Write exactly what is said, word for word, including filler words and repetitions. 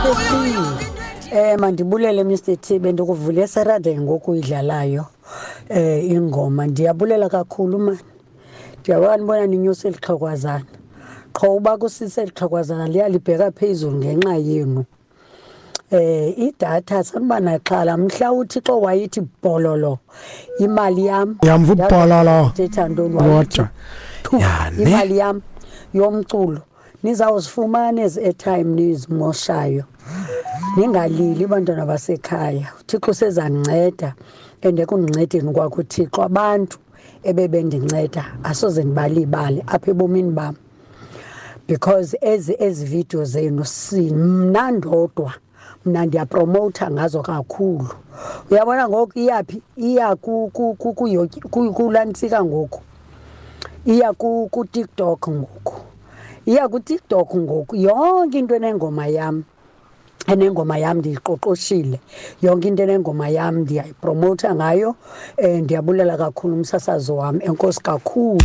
T. Eh mandibulele Mister T, bendikuvule Saturday ngoku idlalayo eh ingoma. Ndiyabulela kakhulu mani. Ndiyabona ninyusa elixhekwazana. Qho uba kusise elixhekwazana liyalibheka phezulu ngenxa yenu. Eh idatha sanuba naxhala mhla uThixo wayithi bololo imali yam. Yamva ubhololo. Thetha ntoni wayithi Kodwa. thu, Ya, ne? imali yam yomculo nizawuzifumana ezi airtime nizimoshayo. Ningalili bantwana basekhaya, uThixo usezandinceda and ekundincedeni kwakho uThixo abantu ebebendinceda asoze ndibalibale apha ebomini bam, because ezi ezi video zenu si mna ndodwa, mna ndiyapromotha ngazo kakhulu. Uyabona ngoku iyaphi? Iya ku- ku- ku- kuyo- ku- kulantsika ngoku, iya ku- kuTikTok ngoku, iya kuTikTok ngoku. Yonke into enengoma yam, enengoma yam ndiyiqoqoshile, yonke into enengoma yam ndiyayipromotha ngayo. um Ndiyabulela kakhulu umsasazi wam, enkosi kakhulu.